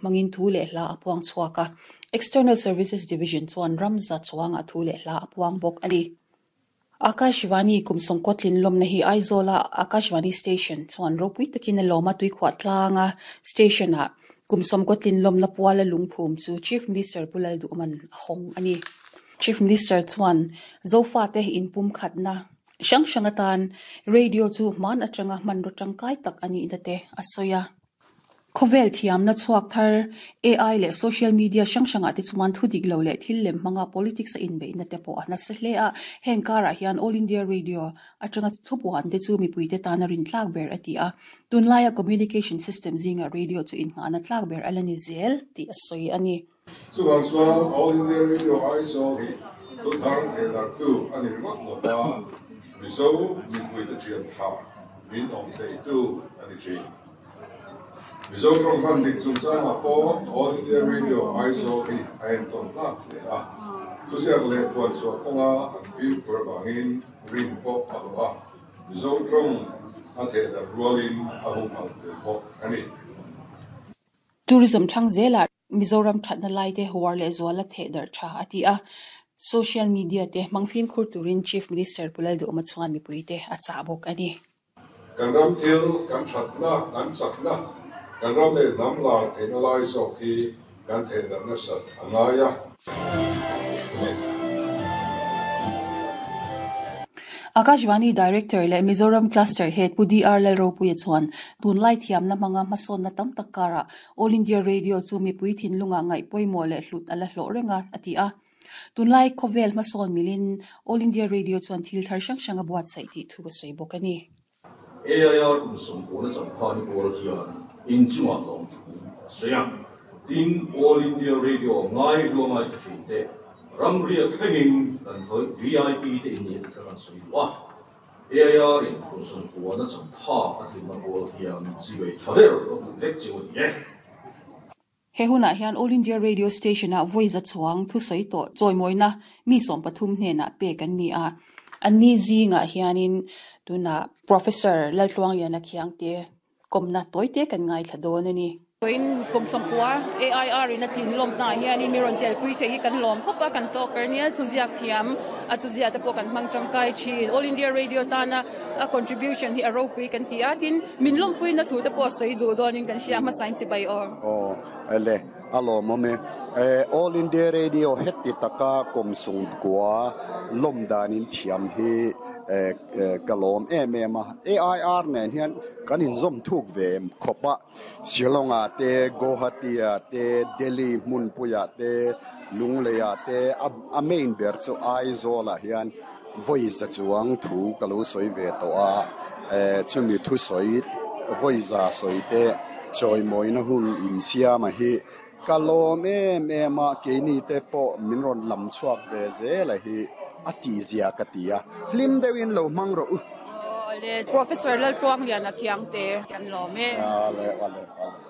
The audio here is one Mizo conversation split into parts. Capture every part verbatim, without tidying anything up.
hmangin thu leh hla a puang chhuak a. External Services Division chuan ram za chuangah thu leh hla a puang bawk a ni. Akashvani kum sawmkaw tlin lawmna hi Aizawla Akashvani Station chuan ropui takin a lawm a, tuikhuah tlanga station-ah kum sawmkaw tlin lawmna puala lungphum chu Chief Minister Pu Lalduhman a hawng a ni. Chief Minister chuan Zofate inpumkhatna hrang hrang atan radio chu hman atanga hmanraw tangkai tak a nihna te a sawi a. Khawvel thiamna chhuak thar A I leh social media hrang hrangah te chuan thu dik lo leh thil lem hmanga politics a inbeihna te pawh a nasa hle a. Heng karah hian All India Radio atanga thupuan te chu mipuite tana rin tlak ber a ti a. Tunlaia communication system zingah radio chu innghahna tlak ber a la ni zel tih a sawi a ni. Chuvang chuan All India Radio Aizawl hi thu thar thehdarhtu a ni ringawt lo va, Mizo mipuite thian tha min awm theitu a ni thin. Mizo tawng hman dik chungchangah pawh All India Radio Aizawl hi a entawn tlak hle a, thuziak leh puan chhuah kawnga an fimkhur avangin rin pawh a hlawh a, Mizo tawng a thehdarh rualin a humhalh tel bawk a ni. Tourism thlang zelah Mizoram thatna lai te huar leh zuala thehdarh tha a ti a, social media te hmang fimkhur turin Chief Minister Pu Lalduhawma chuan mipuite a chah bawk a ni. Kan ram thil, kan thatna, kan chakna, kan ram leh hnam lar theihna lai zawk hi kan thehdarh nasat a ngai a. Akashvani Director leh Mizoram Cluster Head Pu D R Lalropuia chuan tunlai thiamna hmanga hmasawnna tam tak karah All India Radio chu mipui thinlungah ngaih pawimawh leh hlut a la hlawh reng a, a ti a. Tunlai khawvel hmasawn milin All India Radio chuan thil thar hrang hrang a buatsaih tih thu a sawi bawk a ni. A I R kum sawmkawn a changkhan pawl hian inchungah lawmthu a sawi a, tin All India Radio ngai hluangai tha thin te ramriak thlengin kan V I P te in nih kha kan sawi duh a. A I R in kum sawmkawn a changkha a tlinna pawl hian zivei tha ber a hmuh vek chu a ni e. He hunah hian All India Radio Station-ah vawi za chuang thusawi tawh chawimawina mi sawm pathum hnenah pek an ni a. Anni zingah hianin tunah Professor Laltluangliana Khiangte kawmna tawite kan ngaithla dawn a ni. Vawiin kum sawmpua A I R in a tlin lawmnaah hianin mi rawn telpui theih hi kan lawm khawp a, kan tawk er nia, thuziak thiam a thuziah te pawh kan hmang tangkai thin. All India Radio tana a contribution hi a ropui kan ti a, tin min lawmpuina thu te pawh sawi duh dawnin kan hria hmasain chibai aw. Aw le, a lawmawm e. All India Radio heti taka kum sungkua lawm danin thiam hi ka lawm em em a. A I R nen hian kan inzawm thuk ve khawp a, Shillong-ah te, Guwahati-ah te, Delhi hmunpuiah te, Lungleiah te, a main ber chu Aizawl-ah hian vawi za chuang thu ka lo sawi ve tawh a, chumi thusawi vawi za sawi te chawimawina hun insiama hi ka lawm em em a, keini te pawh min rawn lam chhuak ve zel a hi a tihzia ka ti a, hlim deuhin lo hmang rawh u. Awle, Professor Laltluangliana Khiangte kan lawm e. Awle, awle, awle.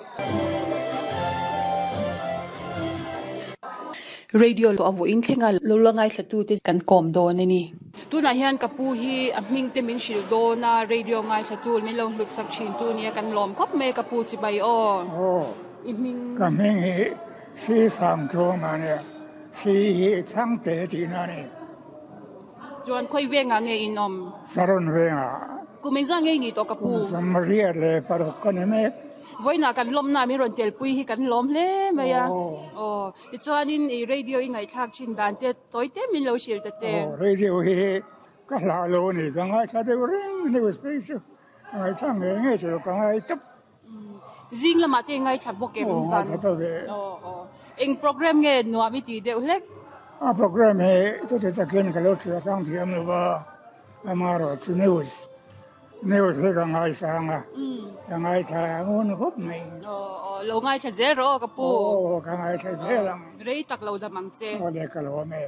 Radio a vawiin thlenga lo la ngaithlatute kan kawm dawn a ni. Tunah hian ka pu hi a hming te min hrilh dawn a, radio ngaithlatu min lo hlut sak thin tu nia kan lawm khawp mai ka pu chibai aw. Aw, I hming. Ka hming hi Si Sangtluang a nia, Si hi Chhangte tihna a ni. Chuan khawi vengah nge in awm? Saron vengah. Kum engzah nge i nih tawh ka pu? Kum sawmriat leh paruk ka ni mek. Vawiinah kan lawmna min rawn telpui hi kan lawm hle mai a. Aw, tichuanin i radio i ngaihthlak thin dan te tawi te min lo hrilh ta che. Aw, radio hi ka hlah lo a ni, ka ngaithla deuh reng news phei chu ka ngaithla ngei ngei chu ka ngai tawp. Zing lamah te i ngaithla bawk em zan? Aw, ngaithla tawp e. Aw, aw. Eng program nge nuam i tih deuh hlek? A program hi chuti takin ka lo thlir tlang thiam lo va, amaherawhchu news News hi ka ngaisang a, ka ngaithla ngun khawp mai. Aw, aw, lo ngaithla zel rawh aw ka pu. Aw, ka ngaithla zel ang. Rei tak lo dam ang che. Aw le, ka lawm e.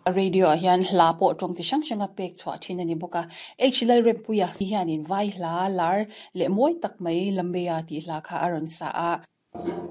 Radio ah hian hla pawh tawng chi hrang hranga pek chhuah thin a ni bawk a. H Lalrempuia hianin vai hla lar leh mawi tak mai Lambeia tih hla kha a rawn sa a.